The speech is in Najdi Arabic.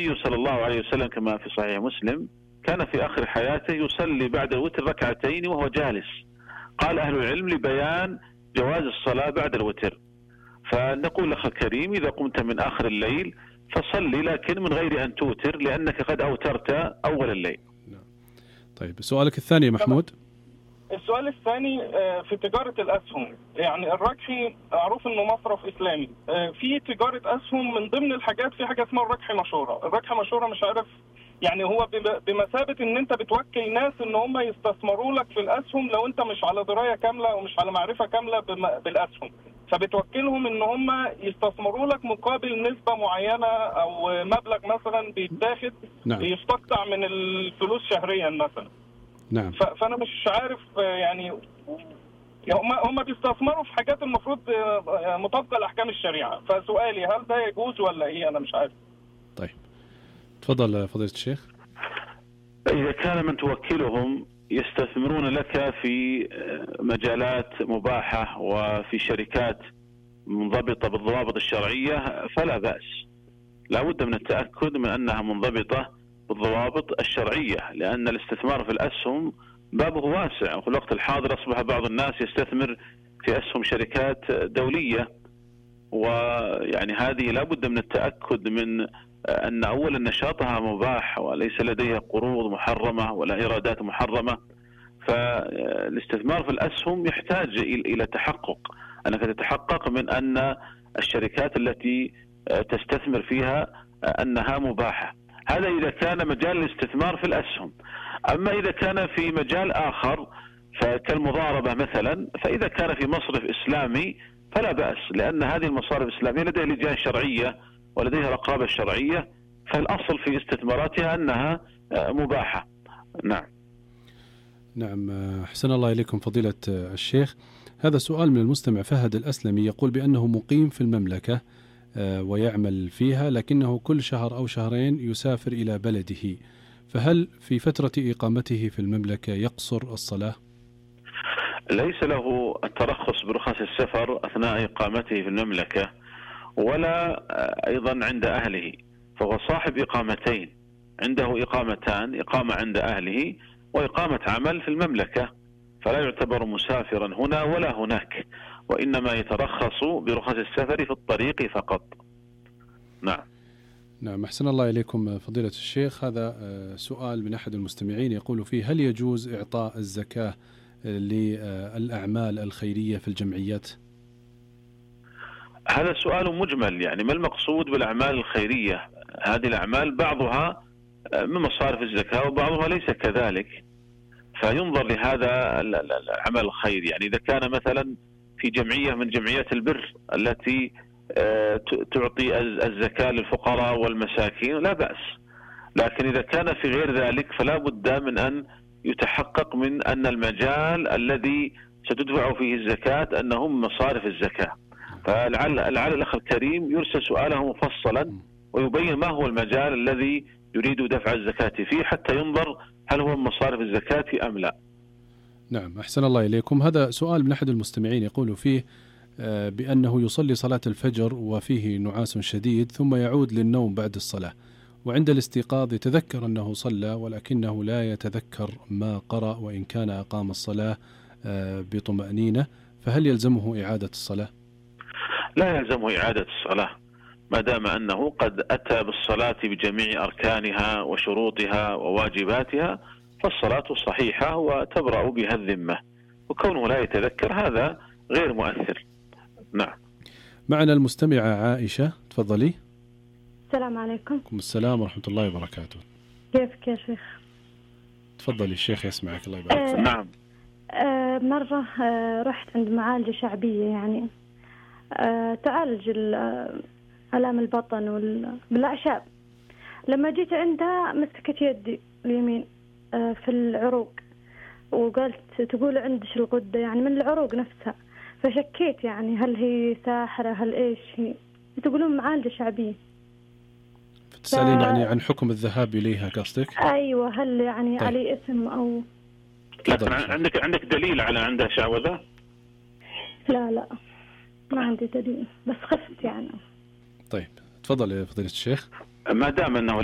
النبي صلى الله عليه وسلم كما في صحيح مسلم كان في آخر حياته يصلي بعد الوتر ركعتين وهو جالس. قال أهل العلم لبيان جواز الصلاة بعد الوتر. فنقول لك الكريم إذا قمت من آخر الليل فصلي، لكن من غير أن توتر، لأنك قد أوترت أول الليل. طيب سؤالك الثاني محمود. السؤال الثاني في تجارة الأسهم. يعني الركحي معروف إنه مصرف إسلامي، في تجارة أسهم من ضمن الحاجات في حاجة اسمها الركحي مشورة. الركحي مشورة مش عارف يعني هو بمثابة إن أنت بتوكل ناس إن هم يستثمروا لك في الأسهم لو أنت مش على دراية كاملة ومش على معرفة كاملة بالأسهم، فبتوكلهم إن هم يستثمروا لك مقابل نسبة معينة أو مبلغ مثلا بيتاخد يستقطع من الفلوس شهريا مثلا. نعم. فأنا مش عارف يعني هم بيستثمروا في حاجات المفروض مطابقة لأحكام الشريعة. فسؤالي هل ده يجوز ولا إيه؟ أنا مش عارف. طيب تفضل فضيلة الشيخ. إذا كان من توكلهم يستثمرون لك في مجالات مباحة وفي شركات منضبطة بالضوابط الشرعية فلا بأس. لا بد من التأكد من أنها منضبطة بالضوابط الشرعية، لأن الاستثمار في الأسهم بابه واسع، وفي الوقت الحاضر أصبح بعض الناس يستثمر في أسهم شركات دولية، ويعني هذه لا بد من التأكد من أن أولا نشاطها مباح وليس لديها قروض محرمة ولا إيرادات محرمة. فالاستثمار في الأسهم يحتاج إلى تحقق، أنك تتحقق من أن الشركات التي تستثمر فيها أنها مباحة. هذا إذا كان مجال الاستثمار في الأسهم. أما إذا كان في مجال آخر كالمضاربة مثلا، فإذا كان في مصرف إسلامي فلا بأس، لأن هذه المصارف الإسلامية لديها لجان شرعية ولديها رقابة شرعية، فالأصل في استثماراتها أنها مباحة. نعم. أحسن الله إليكم فضيلة الشيخ. هذا سؤال من المستمع فهد الأسلمي، يقول بأنه مقيم في المملكة ويعمل فيها، لكنه كل شهر أو شهرين يسافر إلى بلده، فهل في فترة إقامته في المملكة يقصر الصلاة؟ ليس له الترخص برخص السفر أثناء إقامته في المملكة ولا أيضا عند أهله، فهو صاحب إقامتين، عنده إقامتان، إقامة عند أهله وإقامة عمل في المملكة، فلا يعتبر مسافرا هنا ولا هناك، وإنما يترخص برخص السفر في الطريق فقط. نعم. أحسن الله إليكم فضيلة الشيخ. هذا سؤال من أحد المستمعين يقول فيه: هل يجوز إعطاء الزكاة للأعمال الخيرية في الجمعيات؟ هذا سؤال مجمل، يعني ما المقصود بالأعمال الخيرية؟ هذه الأعمال بعضها من مصارف الزكاة وبعضها ليس كذلك، فينظر لهذا العمل الخيري. يعني إذا كان مثلا في جمعية من جمعيات البر التي تعطي الزكاة للفقراء والمساكين لا بأس، لكن إذا كان في غير ذلك فلا بد من أن يتحقق من أن المجال الذي ستدفع فيه الزكاة أنه من مصارف الزكاة. فلعل الأخ الكريم يرسل سؤاله مفصلا ويبين ما هو المجال الذي يريد دفع الزكاة فيه حتى ينظر هل هو من مصارف الزكاة أم لا. نعم. أحسن الله إليكم. هذا سؤال من أحد المستمعين يقول فيه بأنه يصلي صلاة الفجر وفيه نعاس شديد ثم يعود للنوم بعد الصلاة، وعند الاستيقاظ يتذكر أنه صلى ولكنه لا يتذكر ما قرأ وإن كان أقام الصلاة بطمأنينة، فهل يلزمه إعادة الصلاة؟ لا يلزمه إعادة الصلاة ما دام أنه قد أتى بالصلاة بجميع أركانها وشروطها وواجباتها، فالصلاة صحيحة وتبرأ بها الذمة، وكونه لا يتذكر هذا غير مؤثر. نعم. معنا المستمعة عائشة، تفضلي. السلام عليكم. السلام ورحمة الله وبركاته. كيفك يا شيخ؟ تفضلي الشيخ يسمعك الله يبارك فيك. نعم. مرة رحت عند معالجة شعبية، يعني تعالج آلام البطن بالأعشاب. لما جيت عندها مسكت يدي اليمين في العروق وقالت تقول عندش الغدة، يعني من العروق نفسها، فشكيت يعني هل هي ساحرة هل إيش هي؟ تقولون معالجة شعبية. تسألين يعني عن حكم الذهاب إليها قصدك؟ أيوة، هل يعني طيب. علي اسم أو لكن عندك دليل على عندها شعوذة؟ لا ما عندي دليل، بس خفت يعني. طيب تفضل يا فضيلة الشيخ. ما دام أنه ليس